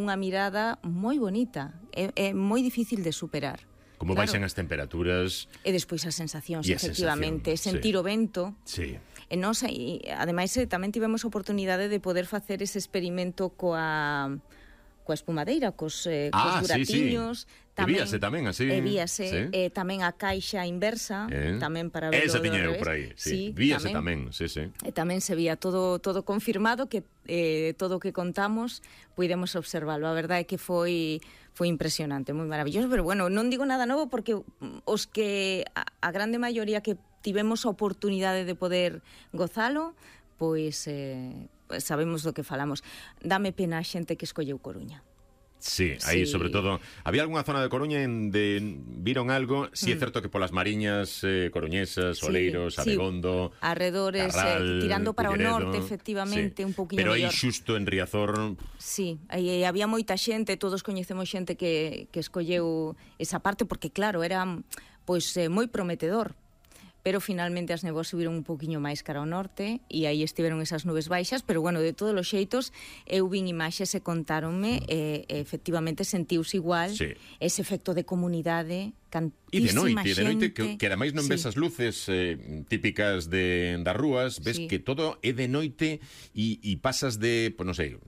unha mirada moi bonita, é moi difícil de superar. Como baixan as temperaturas e despois as sensacións, e a efectivamente, sentir o vento. Sí. E nós, ademais, tamén tivemos a oportunidade de poder facer ese experimento coa espumadeira, cos buratiños. E víase tamén así. Víase, tamén a caixa inversa, tamén para verlo. Esa tiña eu por aí, sí. Víase tamén, sí. E tamén se vía todo confirmado, que todo o que contamos puidemos observarlo. A verdade é que foi impresionante, moi maravilloso, pero bueno, non digo nada novo porque os que a grande maioría que tivemos a oportunidade de poder gozalo, pois sabemos do que falamos. Dame pena a xente que escolleu Coruña. Sí, aí sobre todo había algunha zona de Coruña onde viron algo, é certo que polas mariñas coruñesas, Oleiros, Abegondo, arredores, Carral, tirando para Figueredo, o norte, efectivamente, un pouquiño pero mellor. aí xusto en Riazor. Sí, aí había moita xente, todos coñecemos xente que escolleu esa parte porque claro, era pois moi prometedor. Pero finalmente as nebos subiron un poquinho máis cara ao norte e aí estiveron esas nubes baixas, pero bueno, de todos os xeitos eu vin imaxes e contáronme efectivamente sentiuse igual ese efecto de comunidade, cantísima xente. E de noite, que ademais non ves as luces típicas das rúas, ves que todo é de noite e pasas de, pues non sei,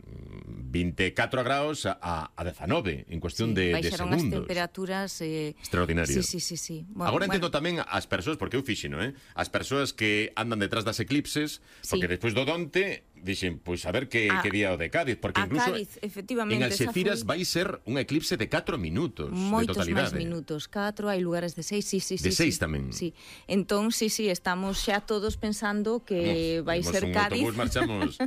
24 graus a 19 en cuestión de segundos. Baixaron as temperaturas extraordinarias. Sí. Bueno, agora entendo tamén as persoas, porque eu fixino, as persoas que andan detrás das eclipses, porque despois do Donte dixen, pois a ver que día o de Cádiz, porque incluso Cádiz, efectivamente, en Alxeciras vai ser un eclipse de 4 minutos moitos de totalidade. Máis minutos, 4, hai lugares de 6, sí. De 6 tamén. Sí. Entón, sí, estamos xa todos pensando que vai ser Cádiz. Autobús, marchamos.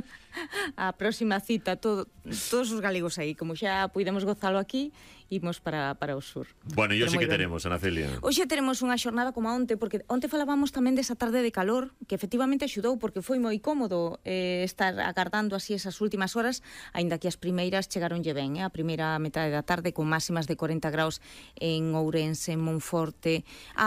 A próxima cita, todos os galegos aí, como xa puidemos gozalo aquí, imos para o sur. Bueno, e hoxe que teremos, Ana Celia? Hoxe teremos unha xornada como onte, porque onte falábamos tamén desa tarde de calor, que efectivamente axudou, porque foi moi cómodo estar agardando así esas últimas horas, aínda que as primeiras chegaronlle ben, a primeira metade da tarde, con máximas de 40 graus en Ourense, en Monforte.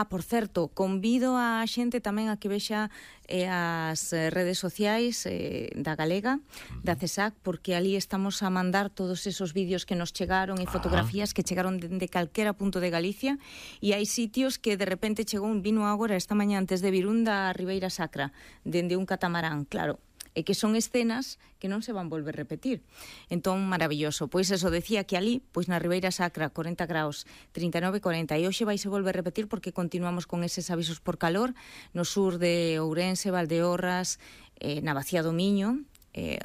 Por certo, convido a xente tamén a que vexa as redes sociais da Galega, da CESAC, porque ali estamos a mandar todos esos vídeos que nos chegaron e fotografías que chegaron dende calquera punto de Galicia, e hai sitios que de repente chegou vino agora esta mañá antes de Virún da Ribeira Sacra, dende un catamarán, claro, e que son escenas que non se van volver a repetir. Entón, maravilloso. Pois eso, decía que ali, pois na Ribeira Sacra, 40 graus, 39, 40, e hoxe vai se volver a repetir porque continuamos con eses avisos por calor no sur de Ourense, Valdeorras, na Bacía do Miño,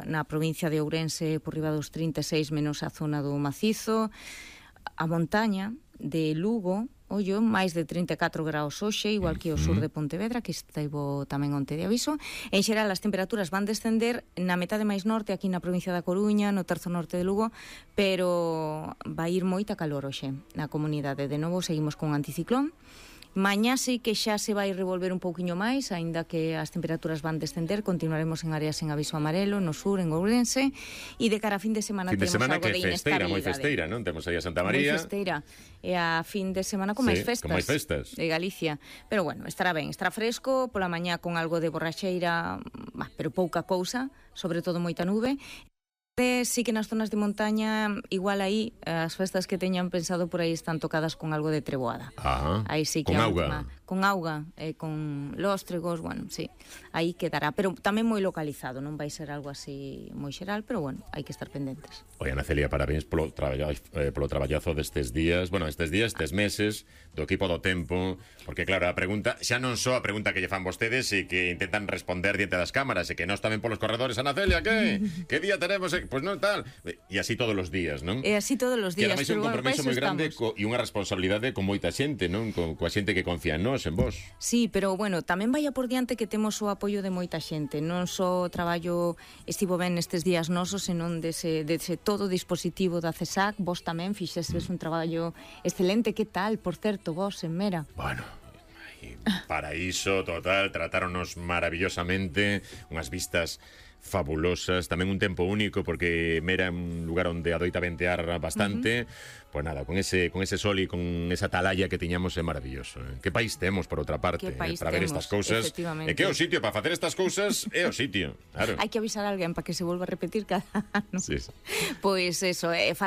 na provincia de Ourense por riba dos 36 menos a zona do Macizo, a montaña de Lugo, ollo, máis de 34 graus hoxe, igual que o sur de Pontevedra, que estivo tamén onte de aviso. En xeral, as temperaturas van descender na metade máis norte, aquí na provincia da Coruña, no terzo norte de Lugo, pero vai ir moita calor hoxe na comunidade. De novo, seguimos con anticiclón. Mañá sí que xa se vai revolver un pouquiño máis, aínda que as temperaturas van descender, continuaremos en áreas en aviso amarelo, no sur, en Ourense, e de cara a fin de semana temos algo de inestabilidade. Moi festeira, non? Temos aí a Santa María. Moi festeira, e a fin de semana con máis festas de Galicia. Pero bueno, estará ben, estará fresco, pola mañá con algo de borraxeira, pero pouca cousa, sobre todo moita nube. Sí que nas zonas de montaña, igual aí, as festas que teñan pensado por aí están tocadas con algo de treboada. Aí sí que con auga. Con auga, con lóstregos, bueno, sí, aí quedará, pero tamén moi localizado, non vai ser algo así moi xeral, pero bueno, hai que estar pendentes. Oi, Ana Celia, parabéns polo traballazo destes días, estes meses, do equipo do tempo, porque claro, a pregunta, xa non só a pregunta que lle fan vostedes e que intentan responder diante das cámaras, e que nós tamén polos corredores, Ana Celia, que día tenemos? Pois non tal, e así todos os días, non? E así todos os días, que ademais é un compromiso moi grande e unha responsabilidade con moita xente, non? Coa xente que confía en nós, en vos. Sí, pero bueno, tamén vai a por diante que temos o apoio de moita xente, non só o traballo estivo ben nestes días nosos, senón dese todo o dispositivo da CESAC, vos tamén fixestes un traballo excelente, que tal, por certo, vos en Mera? Bueno, paraíso total, tratáronos maravillosamente, unhas vistas fabulosas, tamén un tempo único porque Mera é un lugar onde adoita ventear bastante. Pois nada, con ese sol e con esa atalaya que tiñamos é maravilloso. Que país temos, por outra parte, para ver estas cousas. E que é o sitio para facer estas cousas, é o sitio, claro. Hai que avisar a alguén para que se volva a repetir cada ano. Sí. Pois eso, falaba